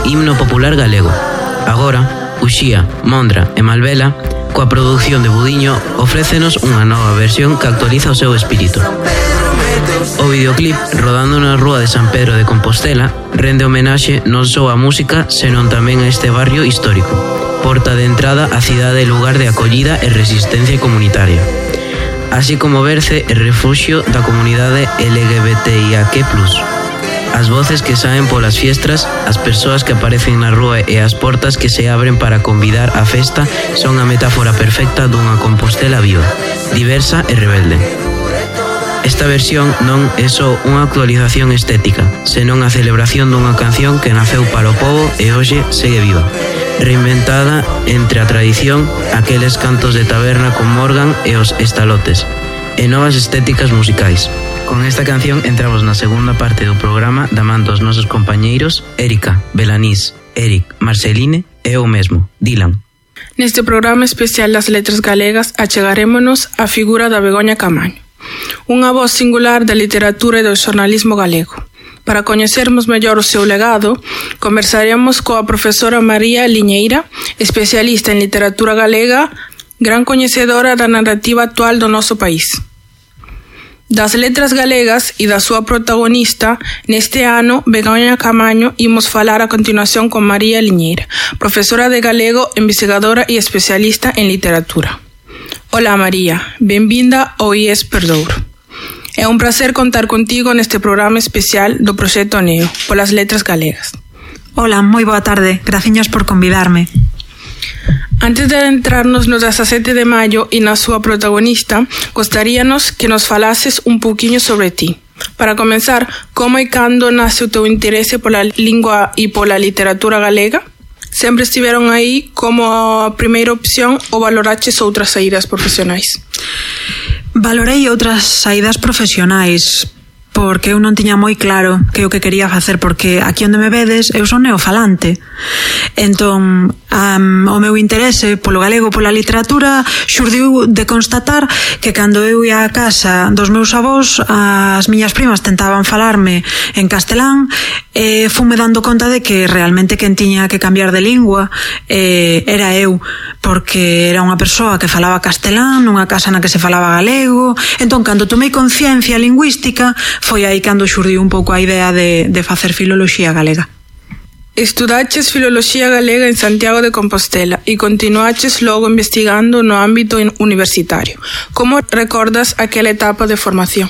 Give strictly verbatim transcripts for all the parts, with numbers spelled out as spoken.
himno popular galego. Agora, Uxía, Mondra e Malvela, coa produción de Budiño, ofrécenos unha nova versión que actualiza o seu espírito. O videoclip, rodando na rúa de San Pedro de Compostela, rende homenaxe non só á música, senón tamén a este barrio histórico, porta de entrada á cidade e lugar de acollida e resistencia comunitaria, así como berce e refuxio da comunidade L G B T I A Q plus. As voces que saen polas fiestras, as persoas que aparecen na rúa e as portas que se abren para convidar á festa son a metáfora perfecta dunha Compostela viva, diversa e rebelde. Esta versión non é só unha actualización estética, senón a celebración dunha canción que naceu para o pobo e hoxe segue viva, reinventada entre a tradición, aqueles cantos de taberna con Morgan e os estalotes, e novas estéticas musicais. Con esta canción entramos na segunda parte do programa da man dos nosos compañeiros Erika, Belanís, Eric, Marceline e eu mesmo, Dylan. Neste programa especial das letras galegas achegarémonos á figura da Begoña Camaño, unha voz singular da literatura e do xornalismo galego. Para coñecermos mellor o seu legado, conversaremos coa profesora María Liñeira, especialista en literatura galega, gran coñecedora da narrativa actual do noso país. Das letras galegas e da súa protagonista, neste ano, Begoña Camaño, imos falar a continuación con María Liñeira, profesora de galego, investigadora e especialista en literatura. Ola María, benvinda ao I E S Perdouro. É un placer contar contigo neste programa especial do Proxecto Neo, polas letras galegas. Ola, moi boa tarde, graciñas por convidarme. Antes de adentrarnos no dezasete de maio e na súa protagonista, gostaríanos que nos falases un pouquiño sobre ti. Para comenzar, como e cando nace o teu interese pola lingua e pola literatura galega? Sempre estiveron aí como a primeira opción ou valoraches outras saídas profesionais? Valorei outras saídas profesionais, porque eu non tiña moi claro que o que quería facer, porque aquí onde me vedes eu son neofalante. Entón, um, o meu interese polo galego, pola literatura, xurdiu de constatar que cando eu ia á casa dos meus avós, as miñas primas tentaban falarme en castelán, e fume dando conta de que realmente quen tiña que cambiar de lingua eh, era eu, porque era unha persoa que falaba castelán nunha casa na que se falaba galego. Entón, cando tomei conciencia lingüística, foi aí cando xurdiu un pouco a idea de, de facer filoloxía galega. Estudaches filoloxía galega en Santiago de Compostela e continuaches logo investigando no ámbito universitario. Como recordas aquela etapa de formación?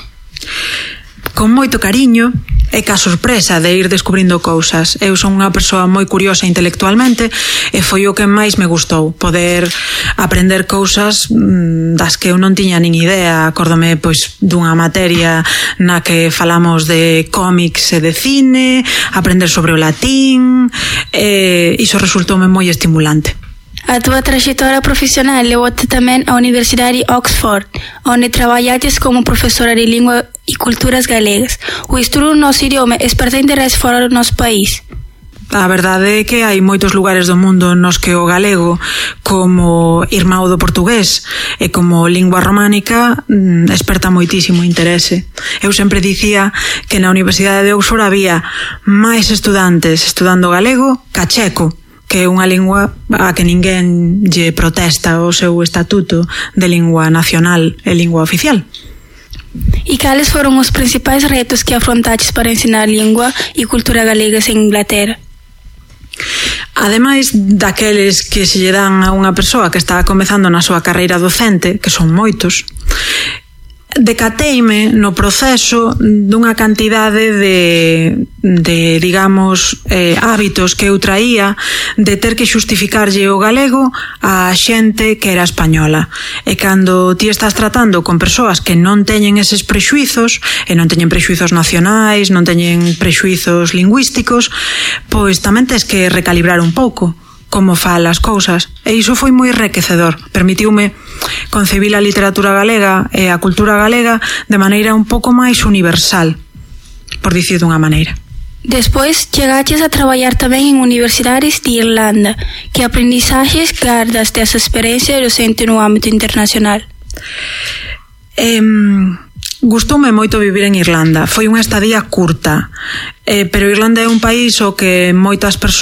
Con moito cariño e ca sorpresa de ir descubrindo cousas. Eu son unha persoa moi curiosa intelectualmente e foi o que máis me gustou, poder aprender cousas das que eu non tiña nin idea. Acórdome pois dunha materia na que falamos de cómics e de cine, aprender sobre o latín, e iso resultoume moi estimulante. A túa traxectoria profesional levou-te tamén á Universidade de Oxford, onde traballates como profesora de lingua e culturas galegas. O estudo do noso idioma esperta interés fora do noso país. A verdade é que hai moitos lugares do mundo nos que o galego, como irmão do portugués e como lingua románica, esperta moitísimo interese. Eu sempre dicía que na Universidade de Oxford había máis estudantes estudando galego ca checo, que é unha lingua a que ninguén lle protesta o seu estatuto de lingua nacional e lingua oficial. E cales foron os principais retos que afrontaches para ensinar lingua e cultura galegas en Inglaterra? Ademais daqueles que se lle dan a unha persoa que está comezando na súa carreira docente, que son moitos, decateime no proceso dunha cantidade de, de digamos, eh, hábitos que eu traía de ter que xustificarlle o galego á xente que era española. E cando ti estás tratando con persoas que non teñen eses prexuizos, e non teñen prexuizos nacionais, non teñen prexuizos lingüísticos, pois tamén tes que recalibrar un pouco como fala as cousas, e iso foi moi enriquecedor. Permitiume concebir a literatura galega e a cultura galega de maneira un pouco máis universal, por dicir dunha maneira. Despois, chegaches a traballar tamén en universidades de Irlanda. Que aprendizajes gardas desa experiencia docente no ámbito internacional? Eh, gustoume moito vivir en Irlanda. Foi unha estadía curta, eh, pero Irlanda é un país o que moitas persoas